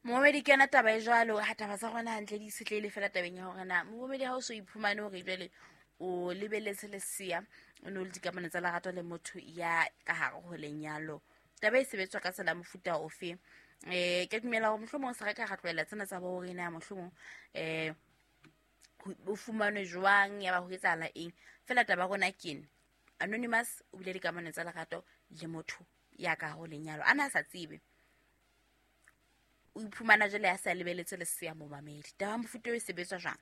Momamedi, ke yona taba e jwalo. Ha taba tsa rona hantle di itshetlehile fela tabeng ya hore na momamedi ha o so iphumane hore jwale o lebeletse lesea, o ne o le dikamano tsa lerato le motho ya ka hare ho lenyalo, taba e sebetswa ka tsela mofuta ofe? Ke dumela hore mohlomong se re ka ra tlohela tsena tsa bo hore na mohlomong o fumanwe jwang, ya ba ho etsahala eng. Fela taba ya rona ke ena, Anonymous o bile dikamano tsa lerato le motho ya ka hare ho lenyalo, a na sa tsebe, o iphumana jwale a sa lebeletse lesea. Momamedi, taba ya mofuta o e sebetswa jwang?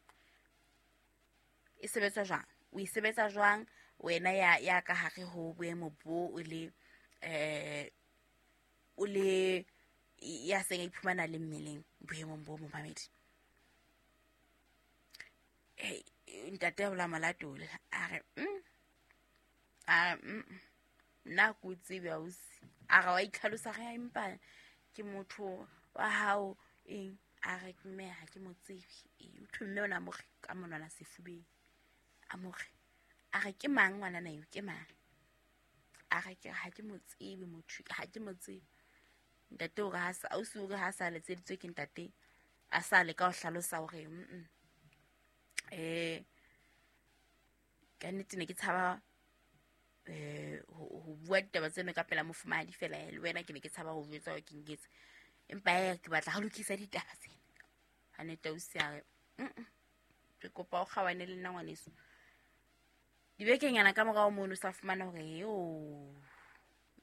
E sebetswa jwang? O e sebetsa jwang wena ya ka hare ho boemo bo o le o le ya seng a iphumana le mmeleng boemong bo, momamedi? Ntate a bola molatole a re a re nna ko tsebe ausi. A re wa itlhalosa, re empa ke motho wa hao eng. A re mme ha ke mo tsebe. O thwe mme o na mo re ka monwana sefubeng, a mo re, a re ke mang ngwanana eo, ke mang? A re ke ha ke mo tsebe motho, ha ke mo tsebe. Ntate o re ha sa, ausi o re ha sa letseditswe ke ntate, a sa leka ho hlalosa hore ka nnete ne ke tshaba ho bua ditaba tseno ka pela mofumahadi fela, le wena ke ne ke tshaba ho jwetsa hore ke nketse, empa ke batla ho lokisa ditaba tsena. Ha nete ausi a re ke kopa o kgawane le nna ngwaneso. Dibekenyana ka morao mono sa fumana hore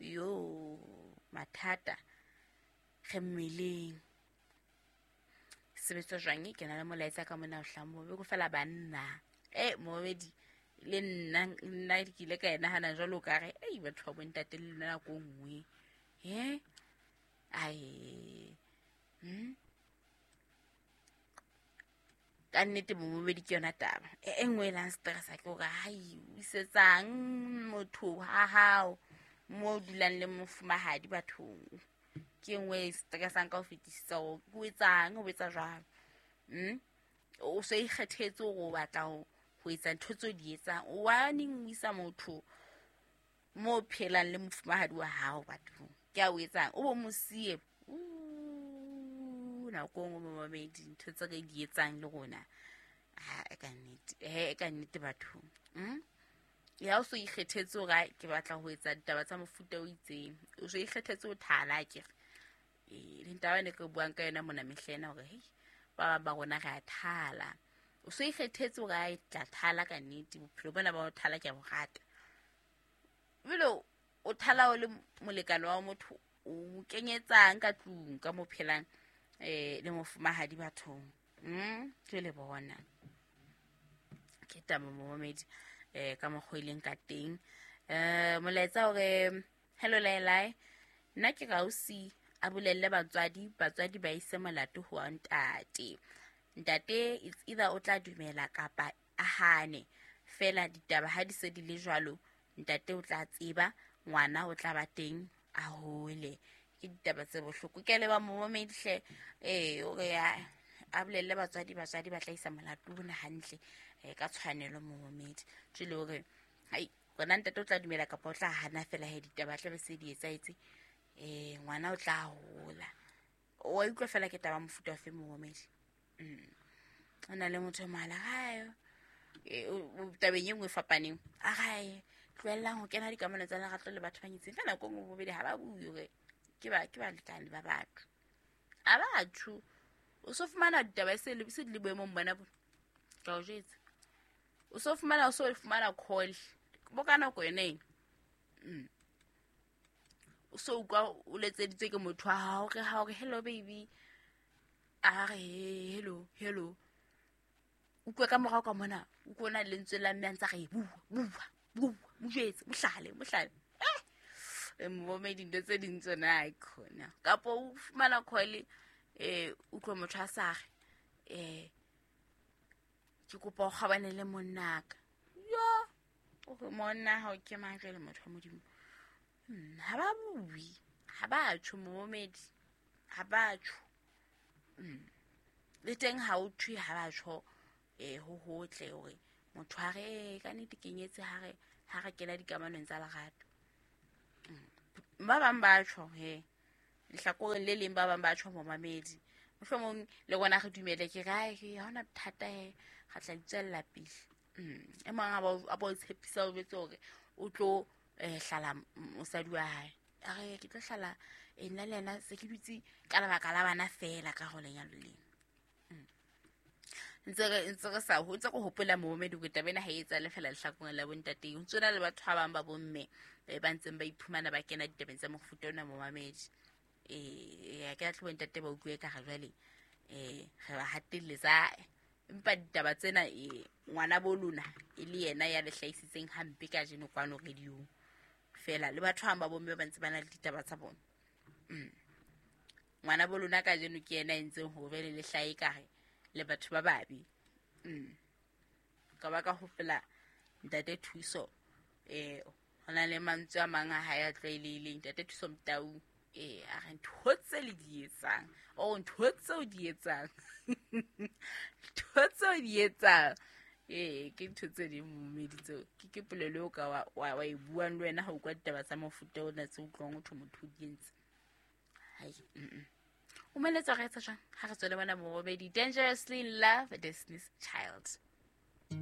yo mathata re mmeleng. Sebetswa jwang? Ke na le molaetsa ka mona o hlahang mo ko fela banna. Momamedi, le nna nna ke ile ka e nahana jwalo ka re ei batho ba bontate le lona nako e nngwe. Ai. Ka nnete momamedi ke yona taba. E nngwe e lang stress ke hore hai o isetsang motho ha hao mo dulang le mofumahadi bathong. Ke nngwe e stressang ka ho fetisisa hore o etsang, o etsa jwang. O so ikgethetse hore o batla ho etsa ntho tseo di etsang. O wa neng o isa motho mo phelang le mofumahadi wa hao bathong. Ke a o etsang, o bo mo siye. Nako e nngwe momamedi, ntho tse re di etsang le rona. Ha, e ka nnete. E ka nnete bathong. Ya o so ikgethetse hore ke batla ho etsa ditaba tsa mofuta o itseng. O so ikgethetse ho thala akere. Le ntaba ne ke buang ka yona mona mehlena hore hei ba bang ba rona re a thala. O so ikgethetse hore a tla thala ka nnete, bophelo bona ba ho thala ke a bo rata. Ebile o thala o le molekane wa motho, o kenyetsang ka tlung ka mo phelang le mofumahadi bathong. Ke le bona. Ke taba momamedi ka mokgwa e leng ka teng. Molaetsa hore hello Laelai, nna ke rausi a bolelle batswadi, batswadi ba ise molato ho ntate. Ntate it's either o tla dumela kapa a hane. Fela ditaba ha di se di le jwalo, ntate o tla tseba, ngwana o tla ba teng a hole. Ke ditaba tse bohloko. Ke a leboha momamedi hle. O re a bolelle batswadi, batswadi ba tla isa molato ona hantle ka tshwanelo momamedi. Jwale hore hai rona ntate o tla dumela kapa o tla hana fela he ditaba tla be se di etsahetse. Ngwana o tla hola. O wa utlwa fela ke taba mofuta ofe momamedi? O na le motho mohala hae. Tabeng e nngwe e fapaneng. A re tlohellang ho kena dikamano tsa lerato le batho ba nyetseng. Ka nako e nngwe bobedi ha ba bue hore ke balekane ba batho. Ha batho. O so fumana ditaba se le se di le boemong bona bo. Ka o jwetsa. O so fumana, o so fumana call. Bo ka nako yona eno. O so utlwa o letseditswe ke motho wa hao, re ha o re hello baby. A re hello, hello. Utlwe ka morao ka mona, utlwe ona lentswe la mme a ntse a re bua, bua, bua, mo jwetse, mohlale, mohlale. Momamedi dintho tse ding tsona ha e khona. Kapo o fumana call, utlwe motho a sa re, ke kopa o kgabane le monnaka. Yo, o re monna hao ke mang jwale motho wa Modimo? Ha ba bue, ha ba tjho momamedi, ha ba tjho. Le teng ha o thwe ha ba tjho, ho hotle hore motho a re, ka nnete ke nyetse ha re kena dikamanong tsa lerato. Ba bang ba tjho he, lehlakoreng le leng ba bang ba tjho momamedi. Mohlomong le rona re dumele ke re ke ha hona bothata he, re tla itswella pele. E mong a ba o tshepisa o jwetse hore o tlo hlala mosadi wa hae. A re ke tlo hlala nna le yena se ke dutse ka lebaka la bana feela ka ho lenyalo lena. Ntse re sa ho ntse go hopola momedi hore taba ena ha e etsahale feela lehlakoreng la bontate. Ho ntso na le batho ba bang ba bomme ba ntseng ba iphumana ba kena ditabeng tsa mofuta ona momamedi. Ya ke tlo bontate ba utlwe ka ga jwale re ba hatelletsa, empa ditaba tsena ngwana bo lona e le yena ya le hlahisitseng hampe kajeno kwano radio-ong. Feela le batho ba bang ba bomme ba ntse ba na le ditaba tsa bona. Ngwana bo lona kajeno ke yena a entseng hore jwale le hlahe kare le batho ba babe. Ka ba ka hopola Ntate Thuso, ho na le mantswe a mang a hae a tlwaelehileng. Ntate Thuso Motau, a re ntho tse le di etsang, oh, ntho tse o di etsang. Ntho tse o di etsang. Ke ntho tse ding momedi tseo. Ke polelo eo ka wa e buang le wena ha o utlwa ditaba tsa mofuta ona tse utlwang ho thwe motho o di entse. Hai, O meletsa re etsa jwang? Ha re tswele bona momedi. Dangerously in Love, Destiny's Child.